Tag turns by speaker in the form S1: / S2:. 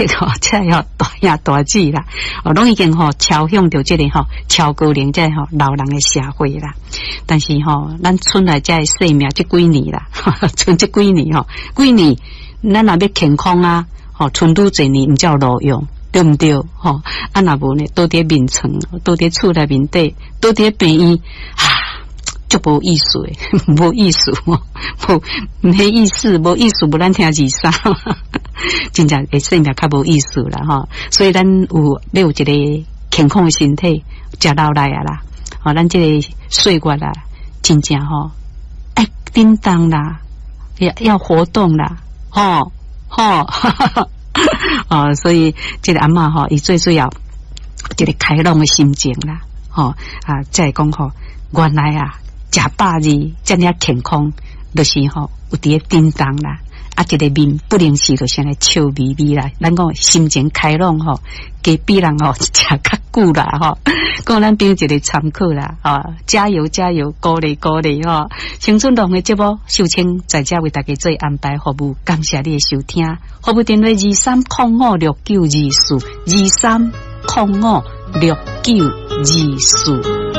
S1: 吼，這個大兄大姊啦，哦，攏已經吼超向著這個吼超高齡這個吼老人的社會啦。但是吼，咱賰來這个生命這幾年啦，賰這幾年吼，幾年咱若欲健康啊，吼，賰愈濟年毋才有路用，對毋對？吼，啊若無呢，倒佇眠床，倒佇厝內面底，倒佇病院，啊，足無意思的，無意思，無沒意思，無意思，無咱聽二三，真正會生命較無意思啦吼。所以咱有欲有一個健康的身體，食落來啊啦，吼，咱這個歲月啊，真正吼愛振動啦，要活動啦，吼吼，哦，所以這個阿嬤吼，伊最主要一個開朗的心情啦，吼啊，才會講吼，原來啊，食百二遮爾健康，就是吼有佇咧振動啦，啊，一個面不能是就是按呢笑眯眯啦。咱講心情開朗吼，加比人吼食較久啦吼。講咱變一個參考啦，吼，加油加油，鼓勵鼓勵吼。青春浪的節目，秀清在遮為大家做安排服務，感謝你的收聽。服務電話23056924，23056924。